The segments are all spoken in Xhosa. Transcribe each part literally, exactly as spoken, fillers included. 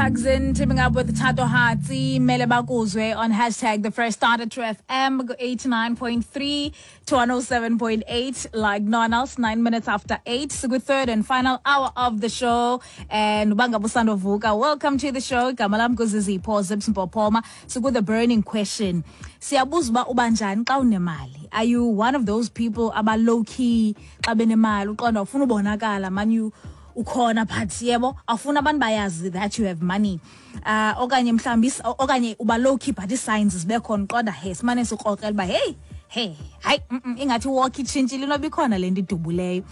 Tugs in teaming up with Tato Hatsi, Mele Bakuzwe on hashtag the fresh start at True F M eighty-nine point three to one oh seven point eight, like no one else, nine minutes after eight. So good, third and final hour of the show. And uba ngaba usandovuka, welcome to the show. Igama lam nguZizipho Zips Mpopoma. So good, the burning question. Siyabuza uba ubanjani xa unemali? Are you one of those people aba low key xa benemali, uqonda ufuna ubonakala man you ukhona, but yebo, awufuna abantu bayazi that you have money, uh okanye mhlawumbi is- okanye uba low key but ii-signs zibe khona, uqonda he simane sikrokrela uba hey, hey, hayi, mm, mm, ingathi walk itshintshile, inoba ikhona le nto idubuleyo,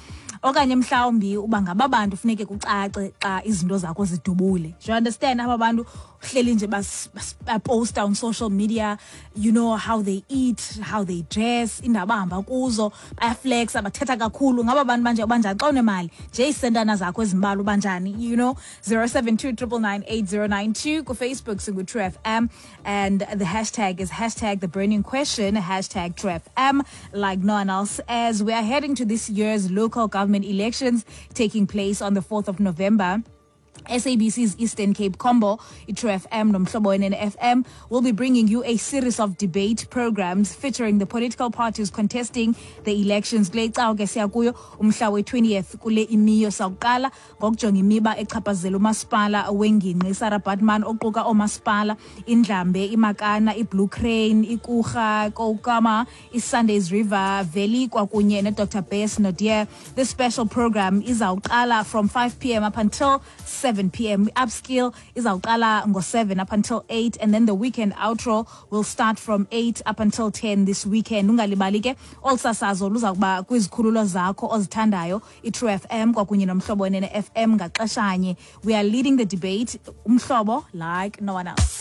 okanye mhlawumbi uba ngaba bantu funeke kucace xa izinto zakho zidubule? Do you understand? Aba bantu uhleli nje bas- bas- baposta on social media, you know how they eat, how they dress, indawo abahamba kuzo, bayaflexa, bathetha kakhulu. Ngaba bantu banje, ubanjani xa unemali nje, iisentana zakho ezimbalwa, ubanjani you know zero seven two nine nine nine eight zero nine two. KuFacebook singu-True F M and the hashtag is hashtag the burning question, hashtag True F M like no one else. As we are heading to this year's local government elections taking place on the fourth of November, S A B C's Eastern Cape Combo, iTrue F M noMhlobo Wenene F M will be bringing you a series of debate programs featuring the political parties contesting the elections. Kule cawa ke siya kuyo, umhla we-twentieth kule imiyo, sawuqala ngokujonga imiba echaphazela umasipala wengingqi iSarah Baartman, oquka oomasipala iNdlambe, iMakana, iBlue Crane, iKurha, Koukamma, iSundays River Valley kwakunye neDr Bess Naude. This special program izawuqala from five p m up until seven p m. Upskill izawuqala ngo-seven up until eight, and then the weekend outro will start from eight up until ten this weekend. Ungalibali ke, olu sasazo luza kuba kwizikhululo zakho ozithandayo, iTrue F M kwakunye noMhlobo Wenene F M, ngaxeshanye. We are leading the debate, Umhlobo like no one else.